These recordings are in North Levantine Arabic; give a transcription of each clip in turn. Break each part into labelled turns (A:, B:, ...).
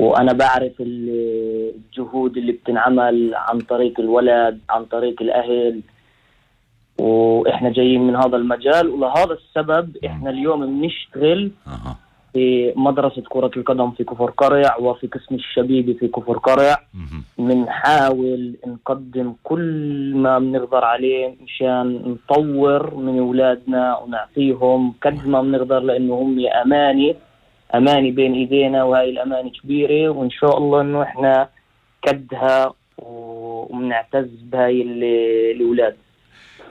A: وأنا بعرف الجهود اللي بتنعمل عن طريق الولد، عن طريق الأهل، وإحنا جايين من هذا المجال. ولهذا السبب إحنا اليوم بنشتغل في مدرسة كرة القدم في كفر قرع وفي قسم الشبيبي في كفر قرع. بنحاول نقدم كل ما بنقدر عليه مشان نطور من أولادنا ونعطيهم قد ما بنقدر، لأنه هم أماني بين إيدينا، وهاي الأماني كبيرة، وإن شاء الله إنه إحنا قدها وبنعتز بهاي الأولاد.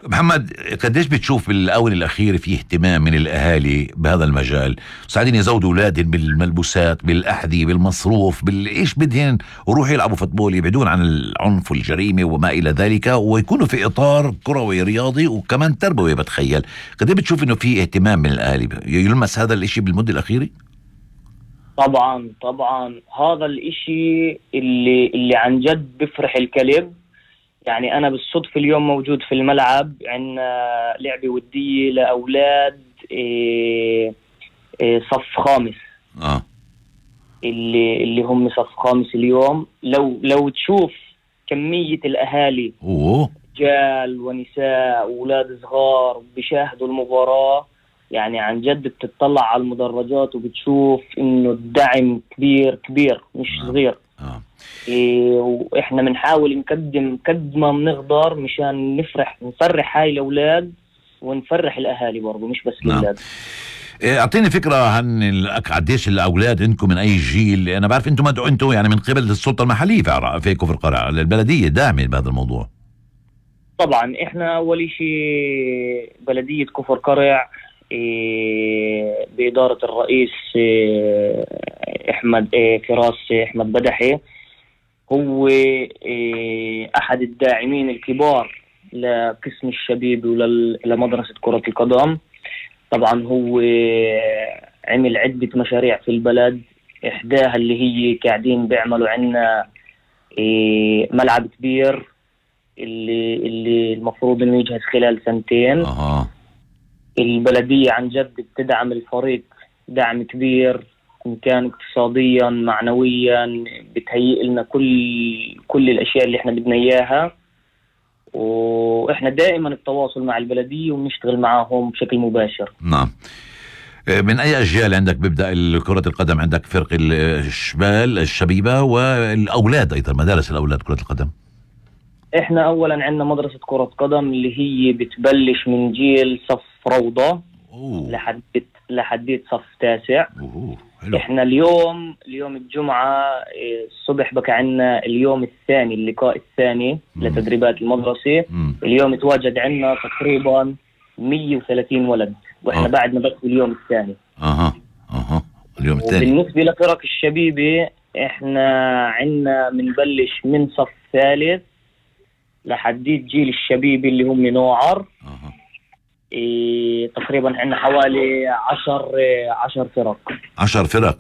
B: محمد، قديش بتشوف بالآونة الأخيرة في اهتمام من الأهالي بهذا المجال، ساعدين يزودوا أولادهم بالملبوسات، بالأحذية، بالمصروف، بالإيش بدهن، وروحوا يلعبوا فوتبول، يبعدون عن العنف والجريمة وما إلى ذلك، ويكونوا في إطار كروي رياضي وكمان تربوي. بتخيل قديش بتشوف إنه في اهتمام من الأهالي يلمس هذا الإشي بالمدة الأخيرة؟
A: طبعا هذا الإشي اللي عن جد بفرح الكلب. يعني أنا بالصدفة اليوم موجود في الملعب، عنا لعبة ودية لأولاد صف خامس، اللي هم صف خامس اليوم. لو تشوف كمية الأهالي، رجال ونساء وأولاد صغار بيشاهدوا المباراة، يعني عن جد بتطلع على المدرجات وبتشوف إنه الدعم كبير مش صغير. وإحنا بنحاول نقدم قد ما بنقدر مشان نفرح هاي الأولاد ونفرح الأهالي برضو، مش بس الأولاد.
B: أعطيني فكرة عن قديش الأولاد عندكم، من أي جيل؟ أنا بعرف أنتم مدعو يعني من قبل السلطة المحلية في كفر قرع، البلدية داعمة بهذا الموضوع. طبعا
A: إحنا أول شيء بلدية كفر قرع بإدارة الرئيس أحمد فراس أحمد بدحي، هو أحد الداعمين الكبار لقسم الشبيب ولمدرسة كرة القدم. طبعا هو عمل عدة مشاريع في البلد، إحداها اللي هي قاعدين بيعملوا عنا ملعب كبير اللي المفروض إنه يجهز خلال 2 سنين. البلدية عن جد بتدعم الفريق دعم كبير، إن كان اقتصاديا معنويا، بتهيئ لنا كل الأشياء اللي احنا بدنا إياها. وإحنا دائما التواصل مع البلدية ونشتغل معهم بشكل مباشر.
B: نعم. من أي أجيال عندك بيبدأ كرة القدم؟ عندك فرق الشبال الشبيبة والأولاد أيضا، مدارس الأولاد كرة القدم.
A: إحنا أولا عندنا مدرسة كرة قدم اللي هي بتبلش من جيل صف روضة لحديت صف 9. إحنا اليوم الجمعة الصبح بقى عنا اليوم الثاني، اللقاء الثاني لتدريبات المدرسة. اليوم تواجد عنا تقريبا 130 ولد، وإحنا بعدنا بس اليوم الثاني.
B: اليوم الثاني.
A: بالنسبة لفرق الشبيبة إحنا عنا منبلش من صف 3 لحديت جيل الشبيبي اللي هم نوعر. تقريبا عندنا حوالي 10 فرق.
B: 10 فرق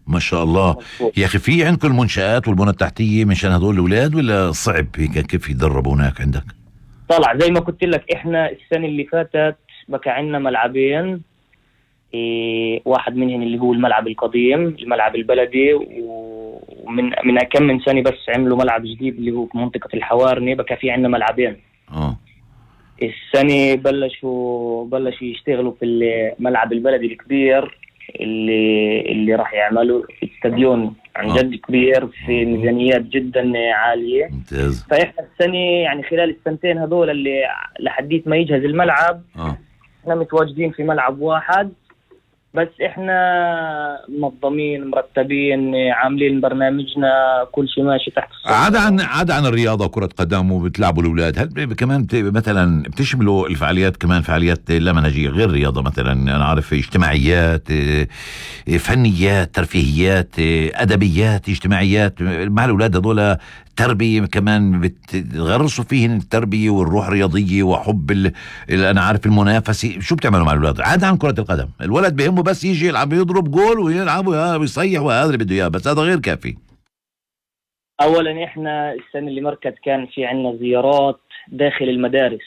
B: ما شاء الله. يا أخي، في عندكم المنشآت والبنى التحتية مشان هدول الأولاد، ولا صعب كيف يدربوا هناك عندك؟
A: طلع زي ما قلت لك، إحنا السنة اللي فاتت بقى عندنا ملعبين، واحد منهم اللي هو الملعب القديم، الملعب البلدي، ومن كم من سنة بس عملوا ملعب جديد اللي هو في منطقة الحوارني، بقى في عندنا ملعبين. السنة بلشوا يشتغلوا في الملعب البلدي الكبير اللي راح يعملوا استاديون عن جد كبير في ميزانيات جدا عالية.
B: ممتاز.
A: فإحنا السنة يعني خلال السنتين هذول اللي لحديت ما يجهز الملعب، احنا متواجدين في ملعب واحد بس. احنا منظمين مرتبين عاملين برنامجنا، كل شيء ماشي تحت السيطرة.
B: عدا عن الرياضة وكرة قدم وبتلعبوا الأولاد، هل كمان مثلا بتشملوا الفعاليات كمان فعاليات لا منهجية غير رياضة؟ مثلا أنا عارف اجتماعيات، فنيات، ترفيهيات، أدبيات، اجتماعيات مع الأولاد هذول، تربية كمان بتغرسوا فيهن التربية والروح الرياضية وحب أنا عارف المنافسة. شو بتعملوا مع الأولاد عدا عن كرة القدم؟ الولد بيهمه بس يجي يلعب يضرب جول ويلعب ويصيح وهذا اللي بده إياه، بس هذا غير كافي.
A: أولا إحنا السنة اللي مركز كان في عنا زيارات داخل المدارس.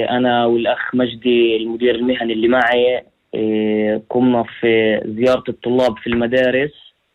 A: أنا والأخ مجدي المدير المهني اللي معي قمنا في زيارة الطلاب في المدارس